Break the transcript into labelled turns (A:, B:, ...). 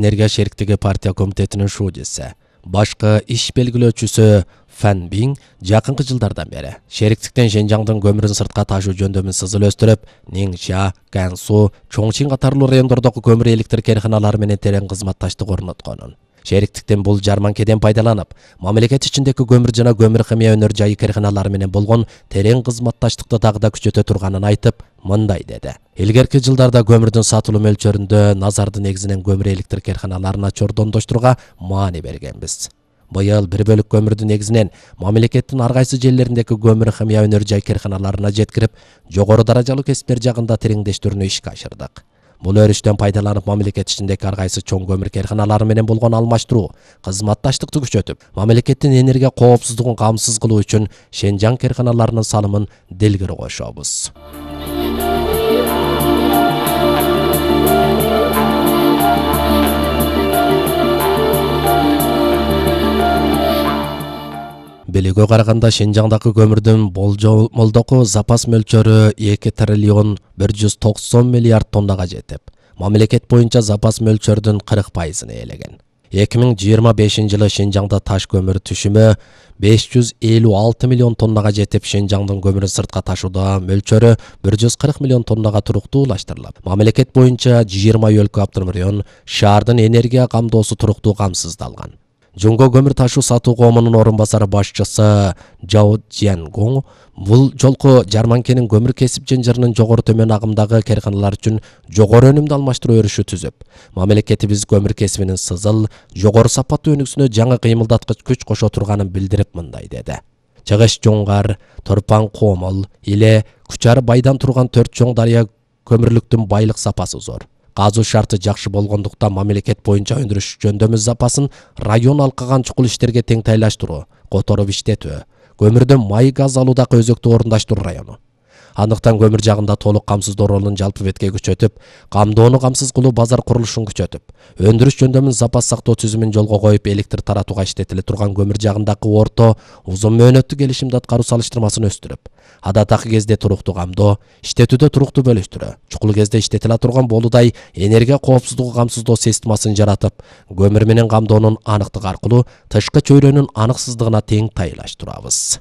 A: Энергия шериктиги партия комитетинин шуудиси, башкы иш белгилөөчүсү Фан Бин жакынкы жылдардан бери шериктиктен Шенжаңдын көмүрүн сыртка ташуу жөндөмүн сызылөстүрүп, Нingxia, Gansu, Чоңчин катарлуу райондордогу көмүр электр керканалары менен терең кызматташтык орнотконун. Шериктиктен бул жарманкеден пайдаланып, мамлекет ичиндеги көмүр жана көмүр химия өнөр жайы керканалары менен болгон терең кызматташтыкты дагы да күчөтө турганын айтып, мындай деди. Илгерки жылдарда көмүрдүн сатылуу мөлчөрүндө назарды негизинен көмүр электр керканаларына чордондоштурууга маани бергенбиз. Быйыл 1 бөлүк көмүрдү негизинен мамлекеттин ар кайсы жерлериндеги көмүр химия өнөр жай керканаларына жеткирип, жогору даражалуу кесиптер жагында тереңдештирүүнү ишке ашырдык. Бул өрүштөн пайдаланып мамлекет ичиндеги ар кайсы чоң көмүр керканалары менен болгон алмаштыруу, кызматташтыкты күчөтүп, мамлекеттин энергия коопсуздугун камсыз кылуу үчүн Шенжаң керканаларынын салымын делгери кошобуз. Белүүгө караганда Шенжаңдагы көмүрдүн болжолдогу запас мөлчөрү 2 триллион 190 миллиард тоннага жетип, мамлекет боюнча запас мөлчөрдүн 40%-ын ээлеген. 2025 жылы Шенжаңда таш көмүр түшүмү 556 миллион тоннага жетип, Шенжаңдын көмүрүн сыртка ташууда мөлчөрү 140 миллион тоннага туруктуулаштырылат. Мамлекет боюнча 20 өлкө автономдон шаардын энергия камдоосу туруктуу камсыздалган. Жумго көмүр ташуу сатуу коомунун орун басары башчысы Жао Цзянгун бул жолку жарманкенин көмүр кесип жынжырынын жогору төмөн агымдагы керканалар үчүн жогору өнүмдү алмаштыруу өрүшү түзүп, мамлекетибиз көмүр кесибинин сызыл, жогору сапаттуу өнүгүүсүнө жаңы кыймылдаткыч күч кошо турганын билдирип мындай деди. Чыгыш Жоңгар, Торпан Комол, Иле, Кучар байдан турган 4 чоң дарыя көмүрлүктүн байлык сапасы зор. Казуу шарты жакшы болгондуктан мамлекет боюнча өндүрүш жөндөмү запасын район алкаган чукул иштерге тең тайлаштыруу, которуп иштетүү, көмүрдөн май газ алуудагы өзөктү орундаштыруу району. Андыктан көмүр жагында толук камсыздоо ролун жалпы бетке күчөтүп, камдоону камсыз кылуу базар курулушун күчөтүп, өндүрүш жөндөмүн запас сактоо түзүмүн жолго коюп, электр таратууга иштетиле турган көмүр жагындагы орто узун мөөнөттүү келишимди аткаруу салыштырмасын өстүрүп, адатакы кезде туруктуу камдоо, иштетүүдө туруктуу бөлүштүрүү, чукул кезде иштетиле турган болудай энергия коопсуздугу камсыздоо системасын жаратып, көмүр менен камдоонун аныктыгы аркылуу тышкы чөйрөнүн аныксыздыгына тең тайлаштырабыз.